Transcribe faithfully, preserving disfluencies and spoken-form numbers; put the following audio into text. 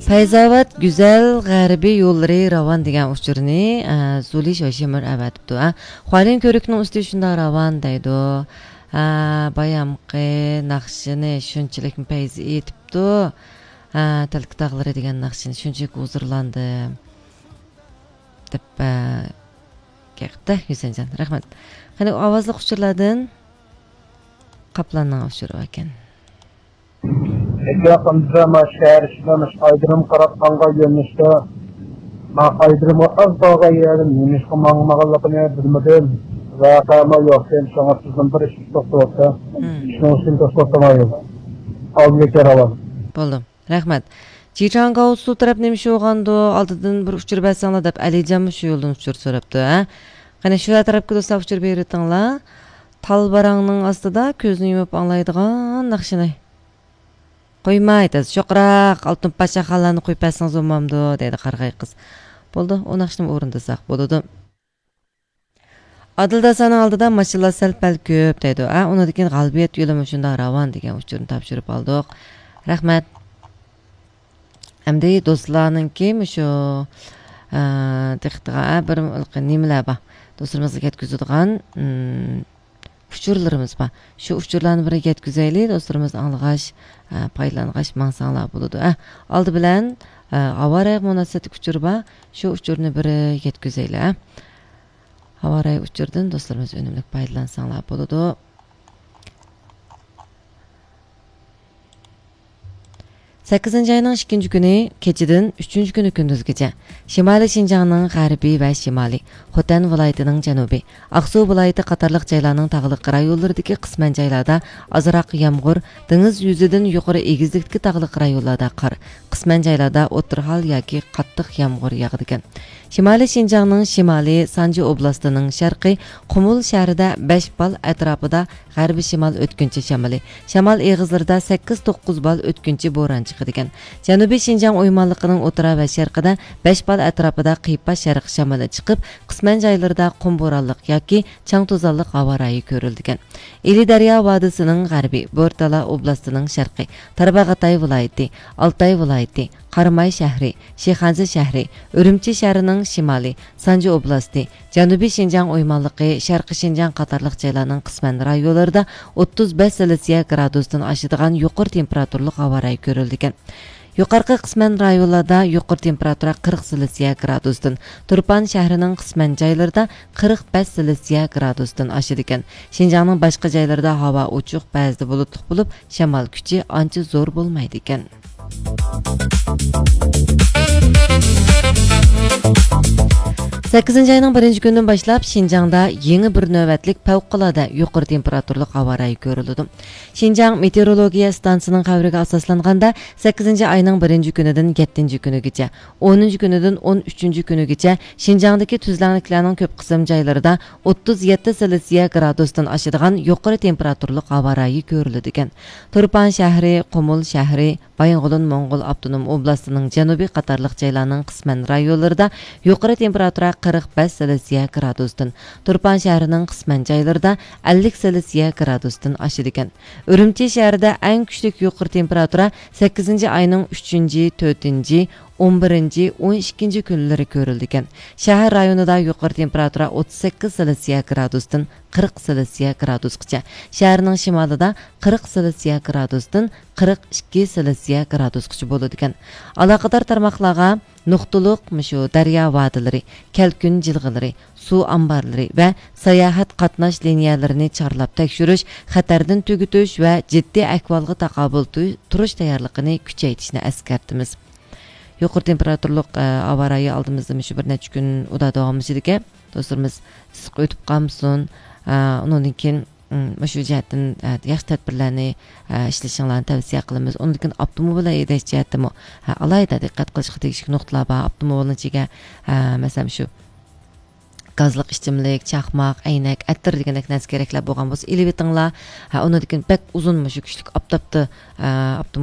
پەيزاۋات گۈزەل غەربىي يوللىرى راۋان دېگەن ئۇچۇرنى، ئە، زۇلى شوشىمىر ئەۋەتىپتۇ. ئە، خۇالىن كۆۋرۈكنىڭ ئۈستى شۇنداق راۋان دەيدۇ. ئە، بايامقى ناخشىنى شۇنچىلىكمۇ پەيزى ئېيتىپتۇ. ئە، تەلكە تاغلىرى دېگەن ناخشىنى شۇنچىلىك ھۇزۇرلاندىم. دەپ، ئە، گەپتە، ھۈسەنجان. رەھمەت. قېنى، ئاۋازلىق ئۇچۇرلاردىن قاپلاننىڭ ئۇچۇرى باركەن. يېقىندا ما شەھەر ئىچىدە مۇشۇ ئايدىرىم قاراپ ماڭغان يۆنىلىشتە، ما ئايدىرىمغا ئاز قالغان يەردىن نېمىشقا ماڭمىغانلىقىنى بىلمىدىم. ۋەقەمۇ يوقكەن، شۇڭا سىزدىن بىر ئىش سوراپ تۇرۇپتۇ. مم. شۇنىڭ ئۈچۈن توسۇپ تۇرمايدۇ. ئالدىدىكى راۋان. بولدى. رەھمەت. جىچاڭگاۋسۇ تەرەپ نېمە ئىش بولغاندۇ؟ ئالدىدىن بىر ئۇچۇر بەرسەڭلار دەپ ئەلىجانمۇ شۇ يولدىن ئۇچۇر سوراپتۇ، ھە؟ قېنى، شۇ تەرەپكە دوستلار ئۇچۇر بېرىۋېتىڭلار. تال باراڭنىڭ ئاستىدا كۆزنى يۇمۇپ ئاڭلايدىغان ناخشىنى. قويماي، تېز، چوقراق، ئالتۇن پاشا خانلارنى قويۇپ بەرسىڭىز بولمامدۇ؟ دەيدۇ قارىغاي قىز. بولىدۇ، ئۇ ناخشىنىمۇ ئورۇندىساق بولىدۇ. ئادىل داسانىڭ ئالدىدا ماشىنىلار سەل-پەل كۆپ دەيدۇ. ئا، ئۇنىڭدىن كېيىن غالىبىيەت يولى مۇشۇنداق راۋان دېگەن ئۇچۇرنى تاپشۇرۇپ ئالدۇق. رەھمەت. ئەمدى دوستلارنىڭكى مۇشۇ، ئە، دىققىتىغا، ئە، بىر نېمىلەر بار. دوستلىرىمىزغا يەتكۈزىدىغان، ئىم، ئۇچۇرلىرىمىز بار. شۇ ئۇچۇرلارنى بىر يەتكۈزەيلى، دوستلىرىمىز ئاڭلىغاچ، ئە، پايدىلانغاچ ماڭساڭلار بولىدۇ. ئە، ئالدى بىلەن، ئە، ھاۋا رايىغا مۇناسىۋەتلىك ئۇچۇر بار. شۇ ئۇچۇرنى بىر يەتكۈزەيلى، ئە. ھاۋا رايى ئۇچۇردىن دوستلىرىمىز ئۈنۈملۈك پايدىلانساڭلار بولىدۇ. سەككىزىنچى ئاينىڭ ئىككىنچى كۈنى كېچىدىن ئۈچىنچى كۈنى كۈندۈزگىچە شىمالىي شىنجاڭنىڭ غەربىي ۋە شىمالىي، خوتەن ۋىلايىتىنىڭ جەنۇبى، ئاقسۇ ۋىلايىتى قاتارلىق جايلارنىڭ تاغلىق رايونلىرىدىكى قىسمەن جايلاردا ئازراق يامغۇر، دېڭىز يۈزىدىن يۇقىرى ئېگىزلىكتىكى تاغلىق رايونلاردا قار، قىسمەن جايلاردا ئوتتۇرا ھال ياكى قاتتىق يامغۇر ياغىدىكەن. شىمالىي شىنجاڭنىڭ شىمالى، سانجى ئوبلاستىنىڭ شەرقى، قۇمۇل شەھىرىدە بەش بال ئەتراپىدا غەربىي شىمال ئۆتكۈنچى شامىلى، شامال ئېغىزلىرىدا سەككىز توققۇز بال ئۆتكۈنچى بوران چىقىدىكەن. جەنۇبىي شىنجاڭ ئويمانلىقىنىڭ ئوتتۇرا ۋە شەرقىدە بەش بال ئەتراپىدا قىيپاش شەرق شامىلى چىقىپ، قىسمەن جايلىرىدا قۇم بورانلىق ياكى چاڭ توزانلىق ھاۋا رايى كۆرۈلىدىكەن. ئىلى دەريا ۋادىسىنىڭ غەربى، بورتالا ئوبلاستىنىڭ شەرقى، تارباغاتاي ۋىلايىتى، ئالتاي ۋىلايىتى، قاراماي شەھىرى، شىخەنزە شەھىرى، ئۈرۈمچى شەھىرىنىڭ شىمالى، سانجى ئوبلاستى، جەنۇبىي شىنجاڭ ئويمانلىقى، شەرقىي شىنجاڭ قاتارلىق جايلارنىڭ قىسمەن رايونلىرىدا ئوتتۇز بەش سېلسىيە گرادۇستىن ئاشىدىغان يۇقىرى تېمپېراتۇرىلىق ھاۋا رايى كۆرۈلىدىكەن. يۇقىرىقى قىسمەن رايونلاردا يۇقىرى تېمپېراتۇرا قىرىق سېلسىيە گرادۇستىن، تۇرپان شەھىرىنىڭ قىسمەن جايلىرىدا قىرىق بەش سېلسىيە گرادۇستىن ئاشىدىكەن. شىنجاڭنىڭ باشقا جايلىرىدا ھاۋا ئوچۇق، بەزىدە بۇلۇتلۇق بولۇپ، شامال كۈچى ئانچە زور بولمايدىكەن. سەككىزىنچى ئاينىڭ بىرىنچى كۈنىدىن باشلاپ شىنجاڭدا يېڭى بىر نۆۋەتلىك پەۋقۇلئاددە يۇقىرى تېمپېراتۇرىلىق ھاۋا رايى كۆرۈلىدۇ. شىنجاڭ مېتېئورولوگىيە ئىستانسىسىنىڭ خەۋىرىگە ئاساسلانغاندا، سەككىزىنچى ئاينىڭ بىرىنچى كۈنىدىن يەتتىنچى كۈنىگىچە، ئونىنچى كۈنىدىن ئون ئۈچىنچى كۈنىگىچە شىنجاڭدىكى تۈزلەڭلىكلەرنىڭ كۆپ قىسىم جايلىرىدا ئوتتۇز يەتتە سېلسىيە گرادۇستىن ئاشىدىغان يۇقىرى تېمپېراتۇرىلىق ھاۋا رايى كۆرۈلىدىكەن. تۇرپان شەھىرى، قۇمۇل شەھىرى، بايىنغولىن موڭغۇل ئاپتونوم ئوبلاستىنىڭ جەنۇبى قاتارلىق جايلارنىڭ قىسمەن رايونلىرىدا يۇقىرى تېمپېراتۇرا قىرىق بەش سېلسىيە گرادۇستىن، تۇرپان شەھىرىنىڭ قىسمەن جايلىرىدا ئەللىك سېلسىيە گرادۇستىن ئاشىدىكەن. ئۈرۈمچى شەھىرىدە ئەڭ كۈچلۈك يۇقىرى تېمپېراتۇرا سەككىزىنچى ئاينىڭ ئۈچىنچى، تۆتىنچى، ئون بىرىنچى، ئون ئىككىنچى كۈنلىرى كۆرۈلىدىكەن. شەھەر رايونىدا يۇقىرى تېمپېراتۇرا ئوتتۇز سەككىز سېلسىيە گرادۇستىن قىرىق سېلسىيە گرادۇسقىچە، شەھەرنىڭ شىمالىدا قىرىق سېلسىيە گرادۇستىن قىرىق ئىككى سېلسىيە گرادۇسقىچە بولىدىكەن. ئالاقىدار تارماقلارغا نۇقتىلىق مۇشۇ دەريا ۋادىلىرى، كەلكۈن جىلغىلىرى، سۇ ئامبارلىرى ۋە ساياھەت قاتناش لىنىيەلىرىنى چارلاپ تەكشۈرۈش، خەتەردىن تۈگىتىش ۋە جىددىي ئەھۋالغا تاقابىل تۇ-، تۇرۇش تەييارلىقىنى كۈچەيتىشنى ئەسكەرتىمىز. يۇقىرى تېمپېراتۇرىلىق، ئە، ھاۋا رايى ئالدىمىزدا مۇشۇ بىر نەچچە كۈن ئۇدا داۋاملىشىدىكەن. دوستلىرىمىز ئىسسىق ئۆتۈپ قالمىسۇن. ئە، ئۇنىڭدىن كېيىن، ئىم، مۇشۇ جەھەتتىن، ئە، ياخشى تەدبىرلەرنى، ئە، ئىشلىشىڭلارنى تەۋسىيە قىلىمىز. ئۇنىڭدىن كېيىن ئاپتوموبىل ھەيدەش جەھەتتىمۇ، ھە، ئالاھىدە دىققەت قىلىشقا تېگىشلىك نۇقتىلار بار. ئاپتوموبىلنىڭ ئىچىگە، ئە، مەسىلەن، شۇ گازلىق ئىچىملىك، چاقماق، ئەينەك، ئەتىر دېگەندەك نەرسە كېرەكلەر بولغان بولسا ئېلىۋېتىڭلار. ھە، ئۇنىڭدىن كېيىن بەك ئۇزۇن مۇشۇ كۈچلۈك ئاپتاپتا، ئە، ئاپتوموبىل